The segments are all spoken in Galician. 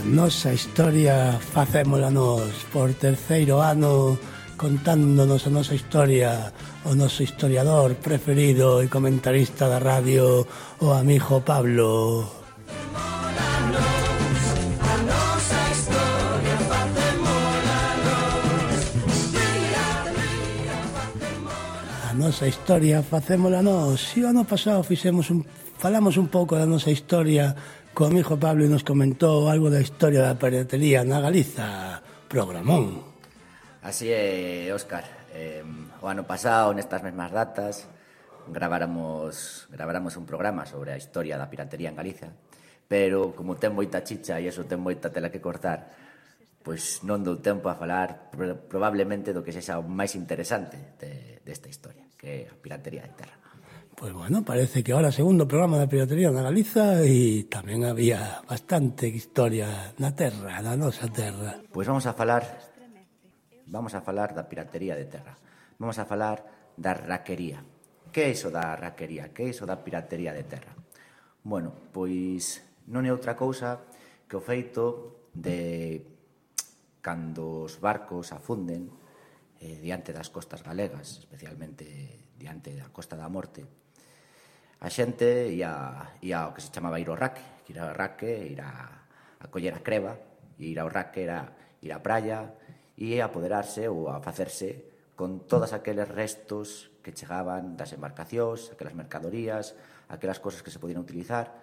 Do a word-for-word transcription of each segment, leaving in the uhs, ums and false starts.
nosa historia facémola nos por terceiro ano, contándonos a nosa historia o noso historiador preferido e comentarista da radio, o amigo Pablo. A nosa historia facémola nós. E o ano pasado fixemos un, falamos un pouco da nosa historia co amigo Pablo e nos comentou algo da historia da piratería na Galiza. Programón. Así é, Óscar. Eh, o ano pasado, nestas mesmas datas, graváramos, graváramos un programa sobre a historia da piratería en Galiza, pero como ten moita chicha e iso ten moita tela que cortar, pois non dou tempo a falar probablemente do que sexa o máis interesante de, desta historia, que é a piratería de terra. Pois bueno, parece que ahora segundo programa da piratería na Galiza e tamén había bastante historia na terra, na nosa terra. Pois vamos a falar vamos a falar da piratería de terra. Vamos a falar da raquería. Que é iso da raquería? Que é iso da piratería de terra? Bueno, pois non é outra cousa que o feito de cando os barcos afunden eh, diante das costas galegas, especialmente diante da Costa da Morte, a xente ia, ia ao que se chamaba ir ao raque, que ir ao raque, ir a, a coller a creva, e ir ao raque era ir á praia e a apoderarse ou a facerse con todas aqueles restos que chegaban das embarcacións, aquelas mercadorías, aquelas cosas que se podían utilizar,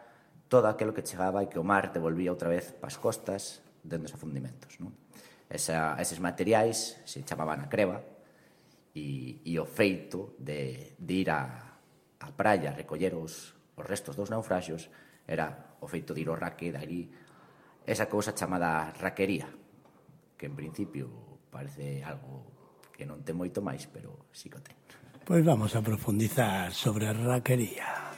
todo aquilo que chegaba e que o mar devolvía outra vez pas costas dentro dos afundimentos, non? Esa, eses materiais se chamaban a creva e, e o feito de, de ir a, a praia a recoller os, os restos dos naufraxios era o feito de ir ao raque, de ali esa cousa chamada raquería, que en principio parece algo que non ten moito máis, pero sí que o ten. Pois vamos a profundizar sobre a raquería.